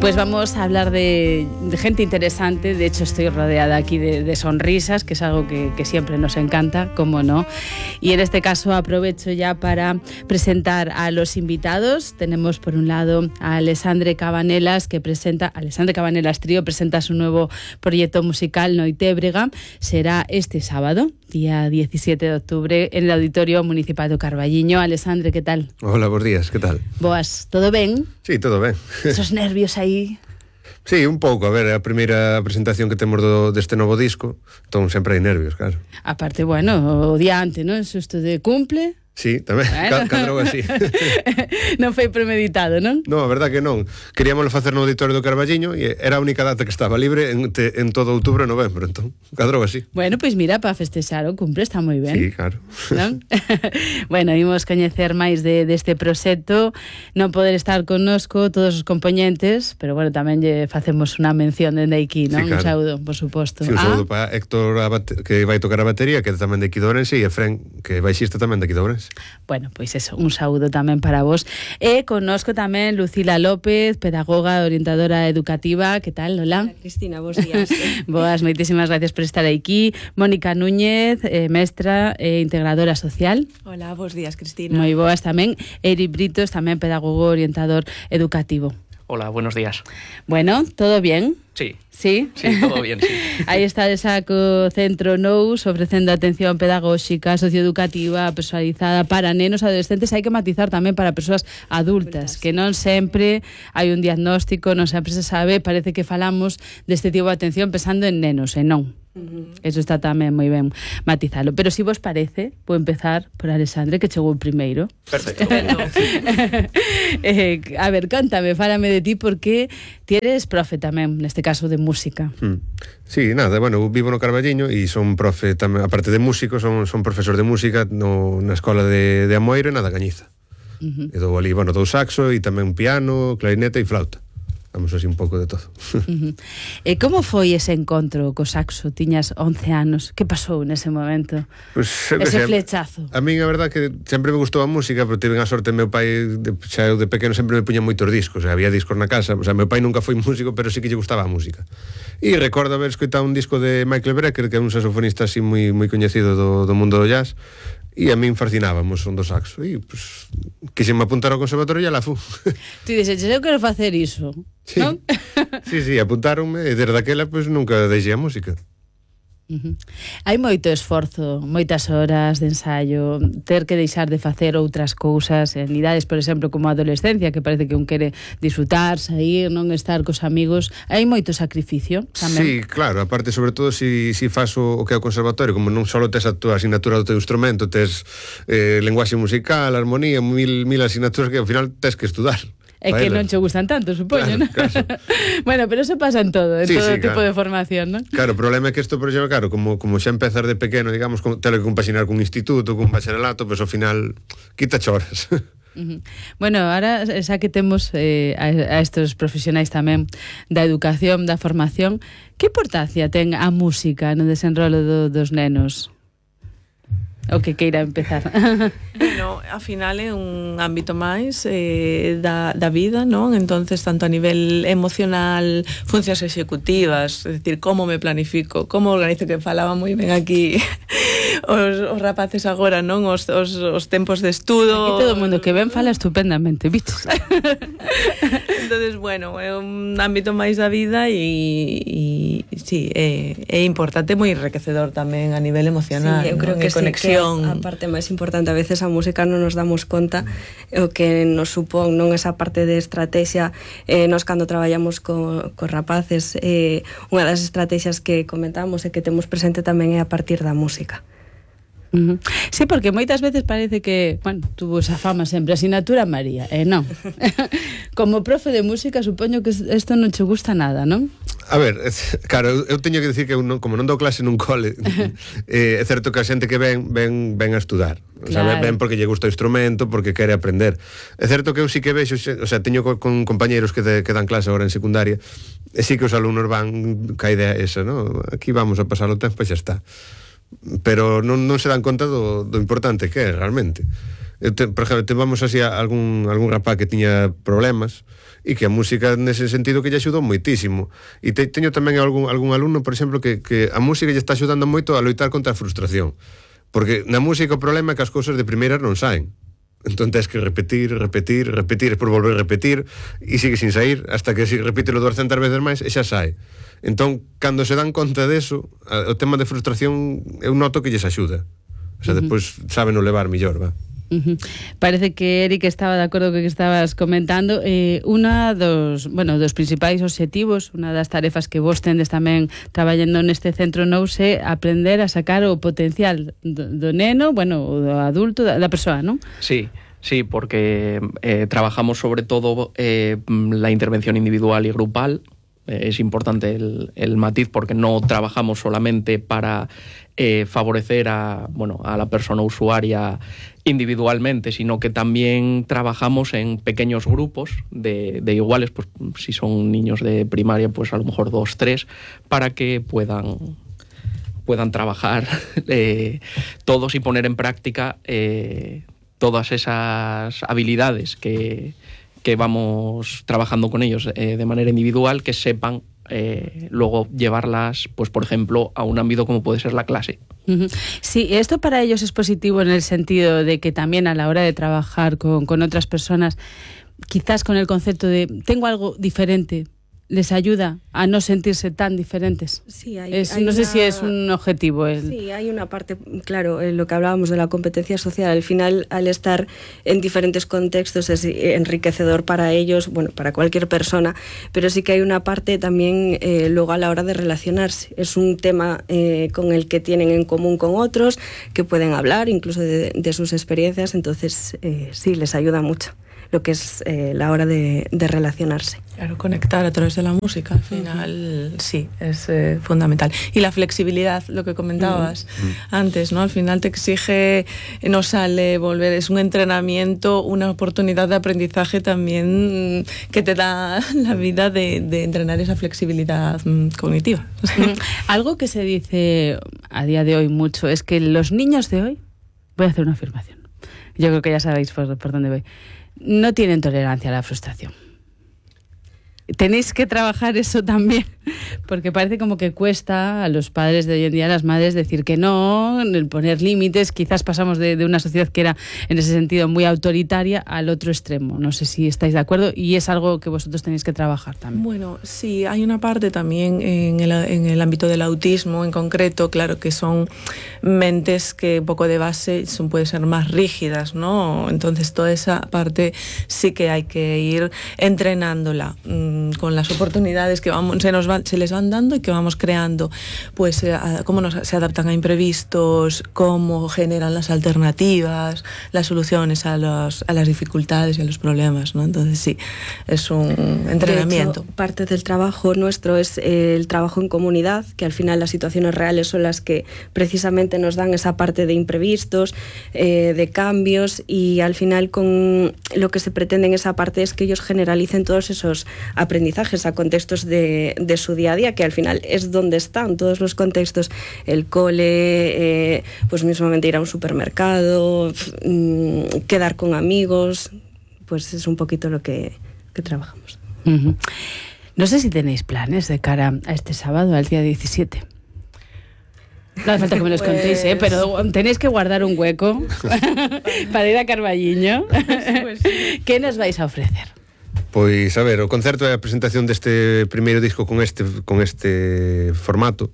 Pues vamos a hablar de gente interesante. De hecho, estoy rodeada aquí de sonrisas, que es algo que siempre nos encanta, cómo no. Y en este caso aprovecho ya para presentar a los invitados. Tenemos por un lado a Alexandre Cabanelas, Alexandre Cabanelas Trío presenta su nuevo proyecto musical Noitebréga. Será este sábado, día 17 de octubre, en el Auditorio Municipal do Carballiño. Alexandre, ¿qué tal? Hola, buenos días, ¿qué tal? Boas, todo ben? Sí, todo ben. Esos nervios aí... Sí, un pouco, a ver, é a primeira presentación que temos deste novo disco, entón sempre hai nervios, claro. Aparte, bueno, o día antes, non? Susto de cumple... Sí, tamén, bueno. Cadrou así. Non foi premeditado, non? Non, a verdad que non. Queríamoslo facer no Auditorio do Carballiño e era a única data que estaba libre en todo outubro e novembro, entón, cadrou así. Bueno, pois mira, para festexar o cumple está moi ben. Sí, claro. Non? Bueno, imos coñecer máis deste proxecto, non poder estar connosco todos os componentes, pero bueno, tamén lle facemos unha mención dende aquí, non? Sí, claro. Un saúdo, por suposto. Sí, un saúdo para Héctor, que vai tocar a batería, que é tamén de aquí de Ourense, e Efren, que baixista tamén de aquí de Ourense. Bueno, pois eso, un saúdo tamén para vos. E connosco tamén Lucila López, pedagoga, orientadora educativa. Que tal, Lola? Hola, Cristina, bons días. Boas, moitísimas gracias por estar aquí. Mónica Núñez, mestra e integradora social. Hola, bons días, Cristina. Moi boas tamén. Eri Britos, tamén pedagogo, orientador educativo. Hola, buenos días. Bueno, ¿todo bien? Sí. Sí? Sí, todo bien, sí. Aí está de saco Centro Nous ofrecendo atención pedagóxica, socioeducativa, personalizada para nenos e adolescentes. Hai que matizar tamén para persoas adultas, que non sempre hai un diagnóstico, non sempre se sabe, parece que falamos deste tipo de atención pensando en nenos, e non. Eso está tamén moi ben matizalo. Pero se vos parece, vou empezar por Alexandre, que chegou primeiro. Perfecto. A ver, cántame, fálame de ti, porque ti eres profe tamén, neste caso de música. Sí, nada, bueno, vivo no Carballiño e son profe tamén, aparte de músico, son profesor de música na escola de Amoeiro e na da Cañiza. E dou ali, bueno, dou saxo e tamén piano, clarinete e flauta. Vamos así un pouco de todo. E como foi ese encontro co saxo? Tiñas 11 anos. Que pasou nese momento? Pues, ese flechazo. A min a verdad que sempre me gustou a música, pero tive a sorte, meu pai, xa eu de pequeno sempre me puña moitos discos, había discos na casa, o sea, meu pai nunca foi músico, pero sí que lle gustaba a música. E recordo haber escoitado un disco de Michael Brecker, que é un saxofonista así moi coñecido do mundo do jazz, e a min fascinábamos son do saxo, e pues, quixeme apuntar ao conservatorio e la fu. Ti dixes, eu quero facer iso, sí. Non? Sí, apuntaronme, e desde aquela pues, nunca deixei a música. Hai moito esforzo, moitas horas de ensaio, ter que deixar de facer outras cousas en idades, por exemplo, como a adolescencia, que parece que un quere disfrutar, sair, non estar cos amigos. Hai moito sacrificio tamén. Sí, claro, aparte, sobre todo, si fas o que é o conservatorio, como non só tes a túa asignatura do teu instrumento, tes lenguaxe musical, armonía, mil asignaturas que ao final tes que estudar. É que non che gustan tanto, supoño, claro, non? Claro. Bueno, pero eso pasa en todo, en todo tipo claro. de formación, non? Claro, o problema é que isto, por exemplo, claro, como xa empezar de pequeno, digamos, telo que compaxinar cun instituto, cun bacharelato, pois ao final quita choras. Bueno, ahora xa que temos a estos profesionais tamén da educación, da formación, que importancia ten a música no desenrolo dos nenos? O que queira empezar. Bueno, ao final é un ámbito máis da vida, non? Entonces, tanto a nivel emocional, funcións executivas, é dicir, como me planifico, como organizo, que falaba moi ben aquí os rapaces agora, non? Os tempos de estudo. Aquí todo o mundo que ven fala estupendamente, bichos. Entonces, bueno, é un ámbito máis da vida e sí, é importante, moi enriquecedor tamén a nivel emocional, sí, eu creo que conexión. Sí, que a parte máis importante, a veces a música non nos damos conta o que nos supón, non esa parte de estrategia. Nos cando traballamos cos rapaces, unha das estrategias que comentamos e que temos presente tamén é a partir da música. Sí, porque moitas veces parece que, bueno, tuvo esa fama sempre, asignatura María, non. Como profe de música, supoño que isto non che gusta nada, non? A ver, claro, eu teño que decir que como non dou clase nun cole, é certo que a xente que ven a estudar. O sea, ven porque lle gusta o instrumento, porque quere aprender. É certo que eu sí que vexo, o sea, teño con compañeros que dan clase agora en secundaria, e sí que os alumnos van ca idea esa, ¿no? Aquí vamos a pasar o tempo e xa está. Pero non se dan conta do importante que é realmente. Por exemplo, vamos así a algún rapaz que tiña problemas e que a música nese sentido que lle axudou moitísimo. E teño tamén algún alumno, por exemplo, que a música lle está axudando moito a loitar contra a frustración. Porque na música o problema é que as cousas de primeiras non saen. Entón tens que repetir, por volver a repetir, e sigue sin sair, hasta que si repítelo 200 veces máis e xa sai. Entón, cando se dan conta deso, o tema de frustración eu noto que lles axuda. O sea, despois saben o levar millor, va. Parece que Eric estaba de acordo co que estabas comentando. Unha dos principais obxectivos, unha das tarefas que vos tendes tamén traballando neste centro NOUS é aprender a sacar o potencial do neno, o do adulto, da persoa, non? Sí, porque trabajamos sobre todo la intervención individual y grupal. Es importante el matiz porque no trabajamos solamente para favorecer a la persona usuaria individualmente, sino que también trabajamos en pequeños grupos de iguales, pues si son niños de primaria, pues a lo mejor 2, 3, para que puedan trabajar todos y poner en práctica todas esas habilidades que vamos trabajando con ellos de manera individual, que sepan luego llevarlas, pues por ejemplo, a un ámbito como puede ser la clase. Sí, esto para ellos es positivo en el sentido de que también a la hora de trabajar con otras personas, quizás con el concepto de tengo algo diferente, les ayuda a no sentirse tan diferentes. Sí, no sé si es un objetivo. Sí, hay una parte, claro, lo que hablábamos de la competencia social, al final, al estar en diferentes contextos es enriquecedor para ellos, para cualquier persona, pero sí que hay una parte también luego a la hora de relacionarse. Es un tema con el que tienen en común con otros, que pueden hablar incluso de sus experiencias, entonces sí, les ayuda mucho lo que es la hora de relacionarse. Claro, conectar a través de la música, al final, sí, es fundamental. Y la flexibilidad, lo que comentabas antes, ¿no? Al final te exige, no sale volver, es un entrenamiento, una oportunidad de aprendizaje también que te da la vida de entrenar esa flexibilidad cognitiva. Algo que se dice a día de hoy mucho es que los niños de hoy, voy a hacer una afirmación, yo creo que ya sabéis por dónde voy, no tienen tolerancia a la frustración. Tenéis que trabajar eso también, porque parece como que cuesta a los padres de hoy en día, a las madres, decir que no, el poner límites. Quizás pasamos de una sociedad que era en ese sentido muy autoritaria al otro extremo. No sé si estáis de acuerdo y es algo que vosotros tenéis que trabajar también. Bueno, sí, hay una parte también en el ámbito del autismo en concreto, claro, que son mentes que un poco de base pueden ser más rígidas, ¿no? Entonces toda esa parte sí que hay que ir entrenándola con las oportunidades que se les van dando y que vamos creando, pues cómo se adaptan a imprevistos, cómo generan las alternativas, las soluciones a las dificultades y a los problemas, ¿no? Entonces sí, es un entrenamiento. De hecho, parte del trabajo nuestro es el trabajo en comunidad, que al final las situaciones reales son las que precisamente nos dan esa parte de imprevistos, de cambios, y al final con lo que se pretende en esa parte es que ellos generalicen todos esos aprendizajes a contextos de su día a día, que al final es donde están todos los contextos, el cole, pues mismamente ir a un supermercado, quedar con amigos, pues es un poquito lo que trabajamos. No sé si tenéis planes de cara a este sábado, al día 17. No hace falta que me los contéis, pero tenéis que guardar un hueco para ir a Carballiño. Pues sí. ¿Qué nos vais a ofrecer? Pois, a ver, o concerto é a presentación deste primeiro disco con este formato,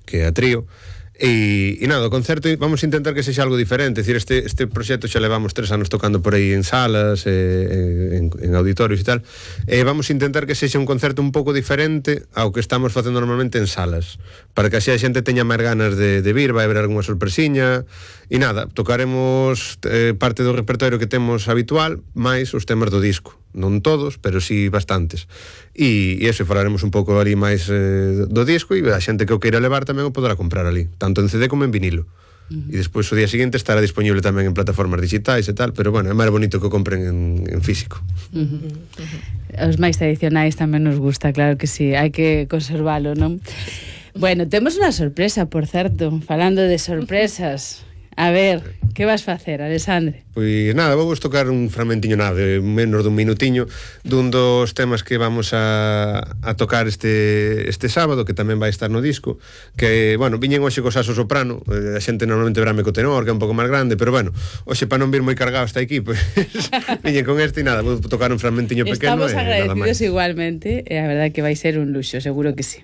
que é a trío, e nada, o concerto vamos a intentar que sexa algo diferente, é dicir, este proxecto xa levamos 3 anos tocando por aí en salas, en auditorios e tal, e vamos a intentar que sexa un concerto un pouco diferente ao que estamos facendo normalmente en salas, para que así a xente teña máis ganas de vir, vai haber algunha sorpresiña, e nada, tocaremos parte do repertorio que temos habitual, máis os temas do disco. Non todos, pero sí bastantes. E eso, falaremos un pouco ali máis do disco, e a xente que o queira levar tamén o poderá comprar ali, tanto en CD como en vinilo. E despois o día seguinte estará disponible tamén en plataformas digitais e tal, pero bueno, é máis bonito que o compren en físico. Os máis tradicionais tamén nos gusta, claro que sí, hai que conservalo, non? Bueno, temos unha sorpresa, por certo, falando de sorpresas. A ver, Que vas facer, Alexandre? Pois nada, vou tocar un fragmentiño nada, de menos dun minutiño, dun dos temas que vamos a tocar este sábado, que tamén vai estar no disco, que, bueno, viñen hoxe co saxo soprano, a xente normalmente verame co tenor, que é un pouco máis grande, pero bueno, hoxe para non vir moi cargado hasta aquí, pois viñen con este e nada, vou tocar un fragmentiño pequeno. Estamos agradecidos igualmente, e a verdade que vai ser un luxo, seguro que sí.